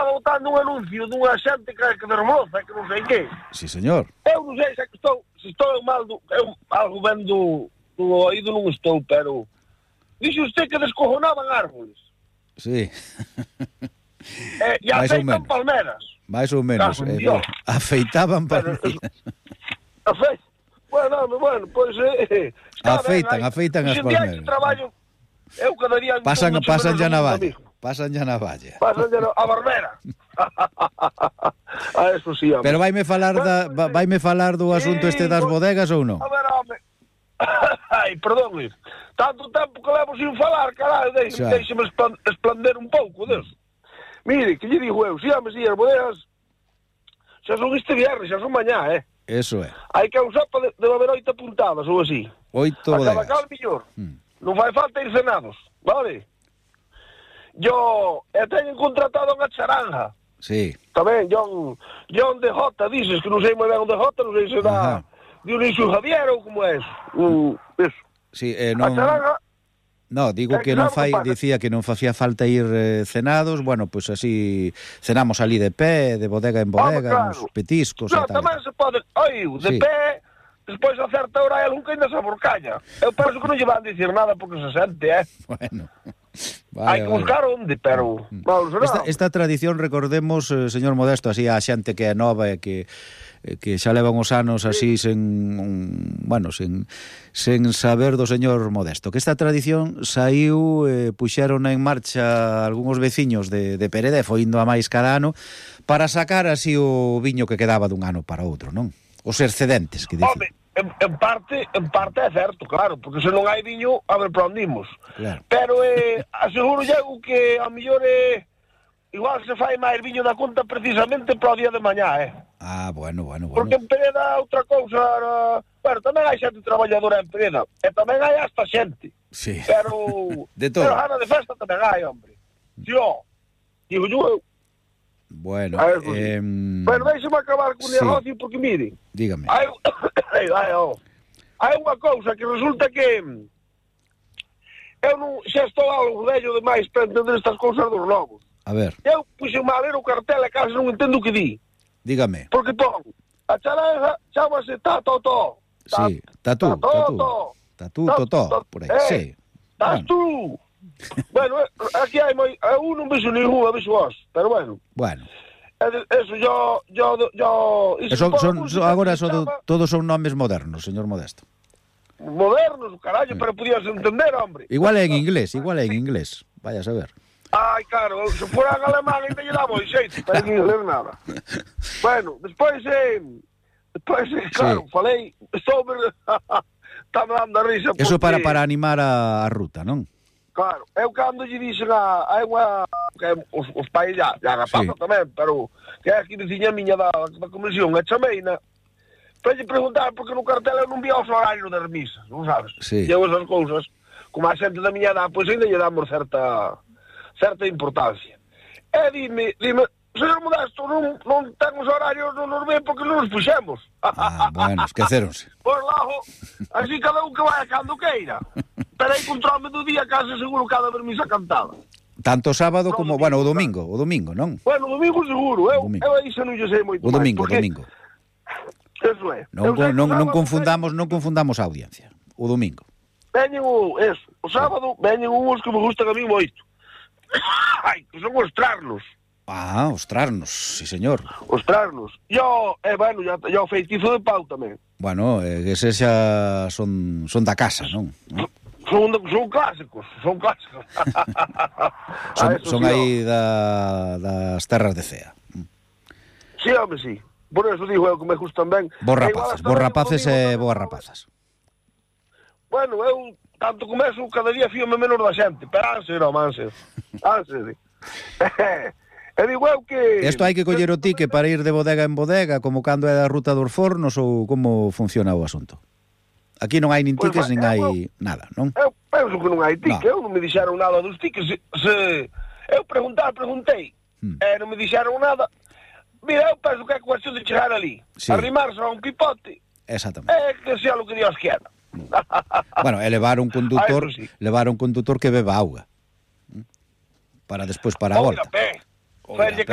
estaba botando un anuncio dunha xente que desbroza, que non sei que. Sí, señor. Eu non sei se estou mal, algo ben do oído non estou, pero dixe usted que descojonaban árboles. Sí. E afeitan palmeras. Mais ou menos. Afeitaban palmeras. Bueno, pois... afeitan as palmeras. Traballo, eu cada día... Pasan ya na valla. Pasan ya na valla. Pasan ya a barbera. A eso sí, hombre. Pero vaime falar do asunto este das bodegas ou non? A ver, home. Ai, perdón, tanto tempo que levo sin falar, caralho, deixe-me esplander un pouco deso. Mire, que lle digo eu, si, as bodegas xa son este viernes, xa son mañá, Eso é. Hai que usar debe haber 8 puntadas ou así. 8 bodegas. A cada cal millor. Non fai falta ir cenados, vale? Yo teño contratado unha charanja. Sí. Tamén, John DJ, dices que non sei moi ben o DJ, non sei se dá Dionisio Javier ou como é eso. Sí, non... A charanja... No, digo que non dicía que non facía falta ir cenados, bueno, pois así cenamos ali de pé, de bodega en bodega, uns petiscos e tal. Tamén se pode, de pé, despois a certa hora hai algún que ainda se aborcalla. Eu penso que non lle van dicir nada porque se sente, Bueno. Hai que buscar onde, pero... Esta tradición, recordemos, señor Modesto, así a xente que é nova e que xa levan os anos así sen saber do señor Modesto, que esta tradición saiu, puxeron en marcha algúns veciños de Perede, foi indo a máis cada ano, para sacar así o viño que quedaba dun ano para outro, non? Os excedentes, que dicen. En parte é certo, claro, porque se non hai viño, a ver para onde imos. Claro. Pero aseguro eu que a mellor igual se fai máis viño da conta precisamente para o día de mañá, Bueno. Porque en Pereda outra cousa... Bueno, tamén hai xente traballadora en Pereda, e tamén hai hasta xente. Sí. Pero... de todo. Pero gana de festa tamén hai, hombre. Digo eu. Bueno, bueno, deixe-me acabar con o negocio, porque mire... Dígame. Hai unha cousa que resulta que... Eu non... Xa estou algo vello demais para entender estas cousas dos lobos. A ver. Eu puxo-me a ler o cartel e case non entendo o que di. Dígame. Porque pon, a charanja chámase Tatotó. Sí, Tatú, por aí, sí. Tatú. Bueno, aquí hai moi... Eu non vexo ningún, vexo vos, pero bueno. Bueno. Eso, yo... Agora todos son nomes modernos, señor Modesto. Modernos, carallo, pero podías entender, hombre. Igual é en inglés. Vaya a saber. Ai, claro, se fora en alemán ainda lle daba o xeito, pero non ler nada. Bueno, despois, claro, falei sobre... Está me dando a risa porque... Eso para animar a ruta, non? Claro, eu cando lle dixen hai unha... Os pais já rapazan tamén, pero que é aquí veciña miña da comisión, a chameina, para lle preguntar porque no cartel eu non vía os horarios das misas, non sabes? Sí. E eu esas cousas, como a xente da miña edad, pois ainda lle damos certa importancia. E dime, señor Modesto, non ten os horarios, non nos ven porque non nos puxemos. Bueno, esqueceronse. Pois lago, así cada un que vai cando queira. Pero aí controlme do día case seguro cada vermisa cantada. Tanto sábado como, o domingo, non? Bueno, o domingo seguro, eu aí xa non lle sei moito máis. O domingo. Eso é. Non confundamos a audiencia. O domingo. Veñen o sábado, veñen uns que me gustan a mí moito. Ai, que son os trarnos. Os trarnos, sí, señor. Os trarnos. Yo o feitizo de pau tamén. Bueno, que ese xa son da casa, non? Son clásicos. Son aí das terras de Cea. Sí, home, sí. Por eso digo eu que me gustan ben. Vos rapaces e boas rapazas. Bueno, eu tanto como eso, cada día fíome menos da xente. Pero anse. E digo eu que... Isto hai que coller o tique para ir de bodega en bodega, como cando é a ruta dos fornos, ou como funciona o asunto? Aquí non hai nin tiques, nin hai nada, non? Eu penso que non hai tique, eu non me dixeron nada dos tiques. Eu preguntei, e non me dixeron nada. Mira, eu penso que é cuestión de chegar ali, arrimarse a un pipote, exactamente, que sea lo que Dios quiera. Bueno, e levar un condutor que beba auga, para despois para a volta. Oira,